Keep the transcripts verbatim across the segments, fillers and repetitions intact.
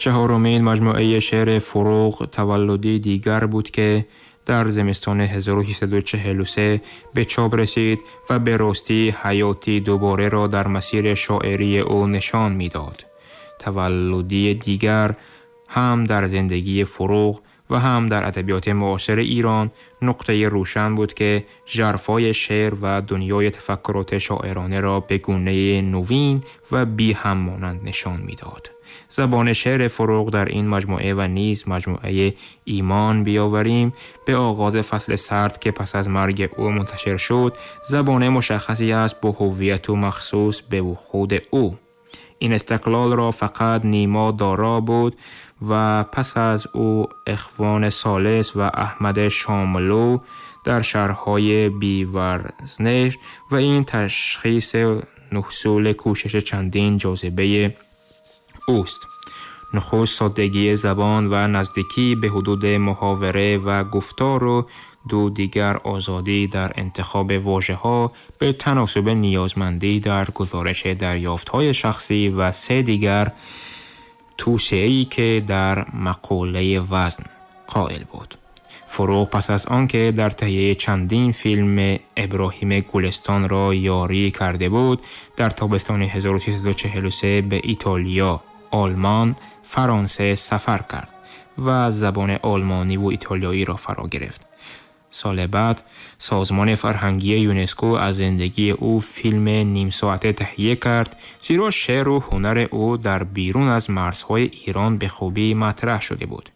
چهارمین مجموعه شعر فروغ تولدی دیگر بود که در زمستان هزار و سیصد و چهل و سه به چاپ رسید و به راستی حیاتی دوباره را در مسیر شاعری او نشان می‌داد. تولدی دیگر هم در زندگی فروغ و هم در ادبیات معاصر ایران نقطه روشن بود که ژرفای شعر و دنیای تفکرات شاعرانه را به گونه نوین و بی هم مانند نشان می‌داد. زبان شعر فروغ در این مجموعه و نیز مجموعه ایمان بیاوریم به آغاز فصل سرد که پس از مرگ او منتشر شد، زبان مشخصی است با هویت و مخصوص به خود او. این استقلال را فقط نیما دارا بود و پس از او اخوان ثالث و احمد شاملو در شهرهای بیورزنش و این تشخیص نحصول کوشش چندین جاذبه اوست. نخست سادگی زبان و نزدیکی به حدود محاوره و گفتار و دو دیگر آزادی در انتخاب واژه‌ها به تناسب نیازمندی در گزارش دریافت‌های شخصی و سه دیگر توسعه‌ای که در مقوله وزن قائل بود. فروغ پس از آنکه در تهیه چندین فیلم ابراهیم گلستان را یاری کرده بود، در تابستان هزار و سیصد و چهل و سه به ایتالیا، آلمان، فرانسه سفر کرد و زبان آلمانی و ایتالیایی را فرا گرفت. سال بعد سازمان فرهنگی یونسکو از زندگی او فیلم نیم ساعته تهیه کرد، زیرا شعر و هنر او در بیرون از مرزهای ایران به خوبی مطرح شده بود.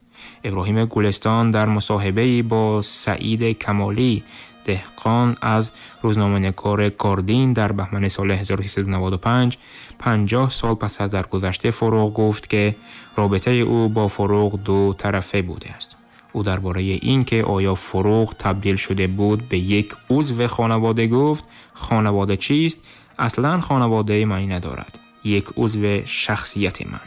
ابراهیم گلستان در مصاحبه‌ای با سعید کمالی دهقان از روزنامه‌نگار گاردین در بهمن سال هزار و سیصد و نود و پنج، پنجاه سال پس از درگذشت فروغ گفت که رابطه او با فروغ دو طرفه بوده است. او درباره این که آیا فروغ تبدیل شده بود به یک عضو خانواده گفت: خانواده چیست؟ اصلاً خانواده معنی ندارد. یک عضو شخصیت من.